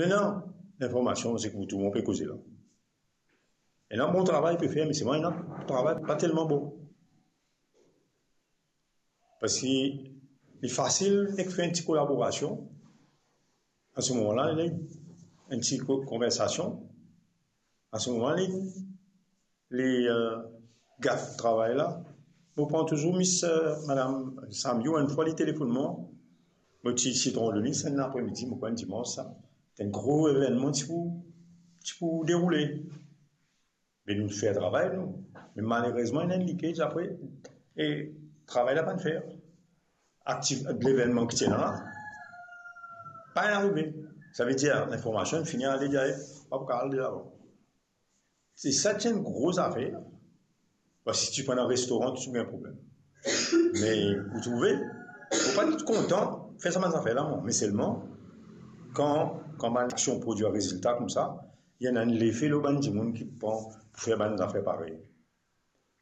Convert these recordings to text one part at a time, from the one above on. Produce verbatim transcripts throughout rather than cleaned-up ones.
Ena linformasion, se ki tou dimoun pe koze la. Ena bon travay pe fer, me selman ena travay pa telman bon. Parski li fasil nek fer enn ti kolaborasion. A se moman la, li, enn ti ko-, konversasion. A se moman la, li, li, euh, gat travay la. Mo pran touzour Miss, euh, Madam Samyou, enn fwa li telefonn mwa. Mo ti, ti tronn li, se enn apremidi, mo krwar enn dimans sa. Enn gro evennman ti pou, ti pou deroule. Me nou fer travay nou. Me malerezman, ena enn leakage apre, e travay la pa'nn fer. Aktiv-, levennman ki ti ena la, pa'nn arive. Savedir, linformasion fini ale, dir, pa pou kapav al devan. Se sa ki enn gro zafer. Parski si ti pran dan restoran, ti pou gagn problem. Me, ou trouve, ou pa kontan fer sa bann zafer la, mwa. Me selman, kan, kan bann aksion prodwir rezilta koumsa, ena enn lefe lor bann dimoun ki pran pou fer bann zafer parey.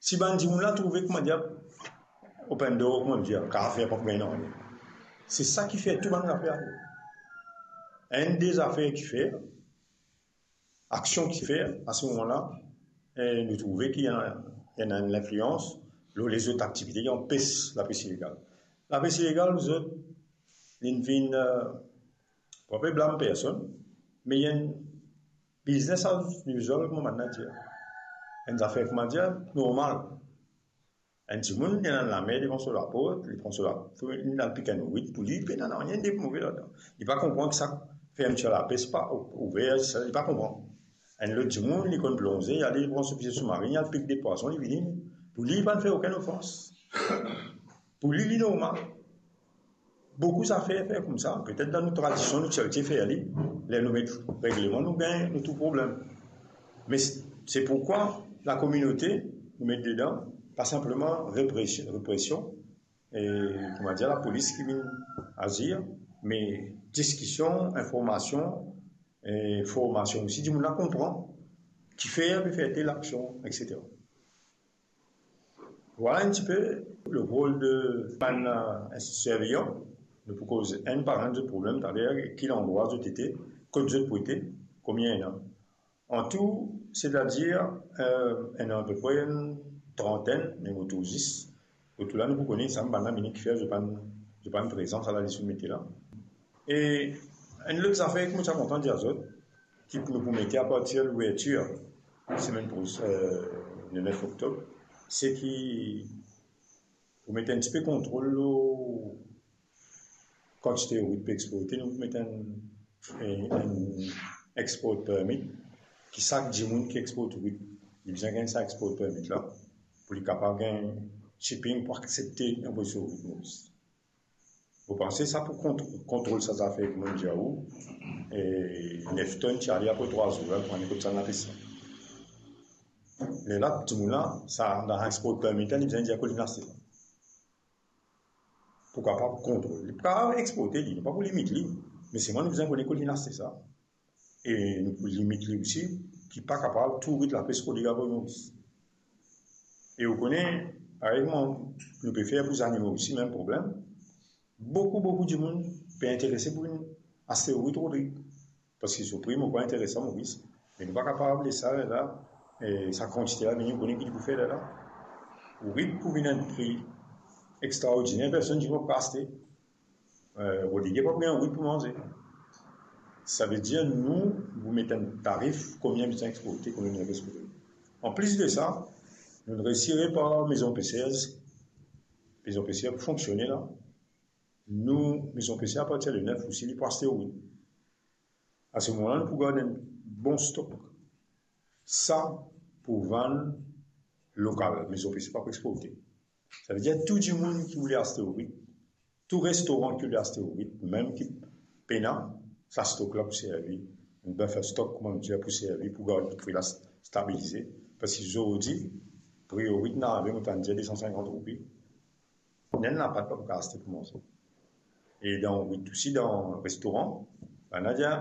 Si bann dimoun la trouve, koumadir, open door, koumadir, kapav fer pa pou gagn nanye. Se sa ki fer tou bann zafer la. Enn de zafer ki fer, aksion ki fer, a se moman la, eh, nou trouve ki ena, ena enn linflians lor lezot aktivite ki anpes lapes ilegal. Lapes ilegal, zot, li vinn, eh, pa pe blam personn, me li enn business as usual, kouma bann la dir. Enn zafer, koumadir, normal. Enn dimoun, li ena enn lamer devan so laport, li pran so la-, li al pik enn wit pou li, pena nanye de move ladan. Li pa konpran ki sa fermitir lapes pa ou-, ouver, sa, li pa konpran. Enn lot dimoun, li konn plonze, li ale, li pran so fize soumarin, li al pik de pwason, li vini. Pou li, li pa'nn fer okenn ofans. Pou li, li normal. Boukou zafer fer koumsa, petet dan nou tradision, nou ti abtie fer li, ler nou met regleman, nou gagn, nou trouv problem. Me se, se poukwa lakominote, nou met dedan, pa sinpleman represion, represion, e, koumadir, lapolis ki vinn azir, me diskision, informasion, e, formasion osi, dimoun la konpran kifer pe fer tel aksion, et cetera. Vwala enn tipe le rol de bann, euh, institisyon sirveyan. Nou pou koz enn par enn zot problem, taler ki landrwa zot ete, kot zot pou ete, konbien ena. An tou, setadir, euh, ena apepre enn trantenn, me mo trouv zis, otour la nou pou kone sa bann la, mini kifer zot pa'nn, zot pa'nn prezan, sa la lis nou mete la. E enn lot zafer ki mo ti a kontan dir zot, ki pou nou pou mete apartir louvertir semenn pro-, euh, le nef oktob, se ki pou met enn tipe kontrol lor kantite wit pe exporte, nou pou met enn, enn, enn export permit, ki sak dimoun ki export wit, li bizin gagn sa export permit la, pou li kapav gagn shipping pou aksepte envoy so wit Moris. Mo panse sa pou kont-, kontrol sa zafer ki mo dir ou, e nef tonn ti ale apre trwa zour, la, pou ane kot sa inn apes sa. Lerla, dimoun la, sa, dan export permit la, li bizin dir kot linn aste sa. Pou kapav kontrol. Li pa exporte li, nou pa pou limit li, me selman nou bizin kone kot linn aste sa. E nou pou limit li osi, ki pa kapav tou wit lapes kot li al Moris. E ou kone, parey kouma nou pe fer pou zanimo osi, mem problem. Boukou, boukou dimoun pe interese pou vinn aste wit Rodrig. Parski so pri, mo krwar, interesan Moris. Me nou pa kapav les sa la, e sa kantite la, me nou kone ki li pou fer la. Wit pou vinn enn pri extraordiner, personn dimoun pa pou aste. Eh, Rodrig pa pou gagn wit pou manze. Savedir nou, nou pou met enn tarif, konbien bizin exporte, konbien bizin exporte. Anplis de sa, nou resi repar mezon peser, mezon peser pou fonksione la. Nou, mezon peser apartir le nef osi, li pou aste wit. A se moman la, nou pou gard enn bon stok. Sa pou vann lokal, mezon peser pa pou exporte. Savedir tou dimoun ki oule aste wit, tou restoran ki oule aste wit, mem ki pena, sa stok la pou servi, enn buffer stock, kouma nou dir, pou servi, pou gard pri la stabilize. Parski zordi, pri wit inn arive, mo tann dir de san sinkant roupi. Ena enn lapat pa pou kapav aste pou manze. E dan wit osi, dan restoran, bann la dir,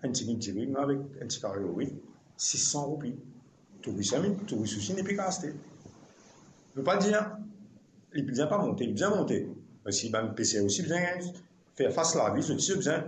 enn tigit diri, me avek enn ti kari wit, sis san roupi. Touris, ami, touris osi, li pe kapav aste. Nou pa dir, li bizin pa monte, li bizin monte. Parski bann peser osi bizin fer fas lavi, zot osi bizin